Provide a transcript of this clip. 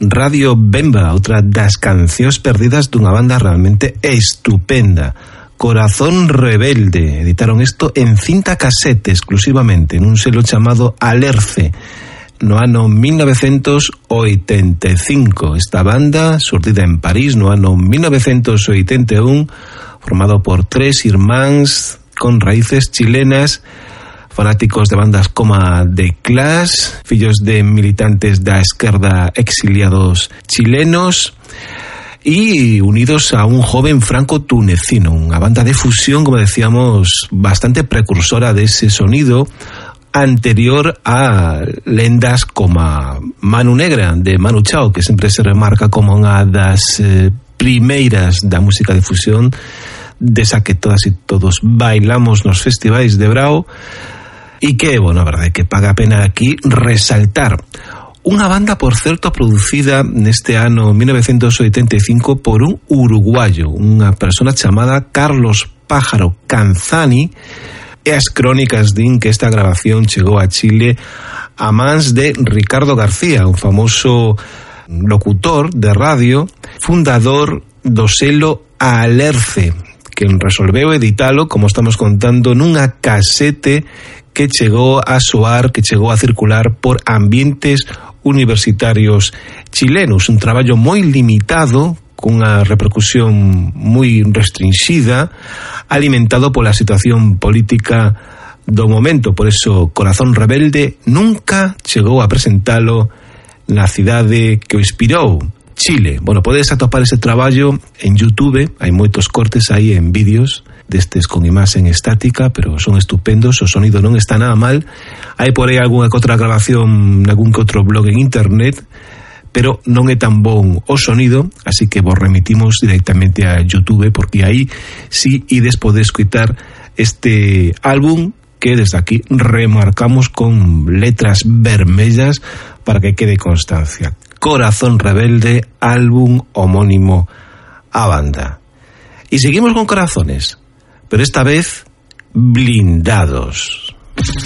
Radio Bemba, outra das cancións perdidas dunha banda realmente estupenda. Corazón Rebelde, editaron isto en cinta casete exclusivamente, nun selo chamado Alerce, no ano 1985. Esta banda, xurdida en París no ano 1981, formado por 3 irmáns con raíces chilenas, fanáticos de bandas como The Clash, fillos de militantes da esquerda exiliados chilenos y unidos a un joven franco-tunecino, unha banda de fusión, como decíamos, bastante precursora de ese sonido anterior a lendas como Manu Negra, de Manu Chao, que sempre se remarca como unha das primeiras da música de fusión, desa que todas e todos bailamos nos festivais de Brao, e que, bueno, a verdade que paga a pena aquí resaltar. Unha banda, por certo, producida neste ano 1985 por un uruguayo, unha persona chamada Carlos Pájaro Canzani, e as crónicas din que esta grabación chegou a Chile a mans de Ricardo García, un famoso locutor de radio, fundador do selo Alerce, que resolveu editalo, como estamos contando, nunha casete que chegou a soar, que chegou a circular por ambientes universitarios chilenos. Un traballo moi limitado, cunha repercusión moi restringida, alimentado pola situación política do momento. Por eso, Corazón Rebelde nunca chegou a presentalo na cidade que o inspirou, Chile. Bueno, podes atopar ese traballo en YouTube, hai moitos cortes aí en vídeos destes con imaxen estática, pero son estupendos, o sonido non está nada mal. Hai por aí algunha que outra grabación nalgún que outro blog en internet, pero non é tan bon o sonido, así que vos remitimos directamente a YouTube, porque aí sí ides poder escutar este álbum que desde aquí remarcamos con letras vermellas para que quede constancia. Corazón Rebelde, álbum homónimo a banda. Y seguimos con corazones, pero esta vez blindados.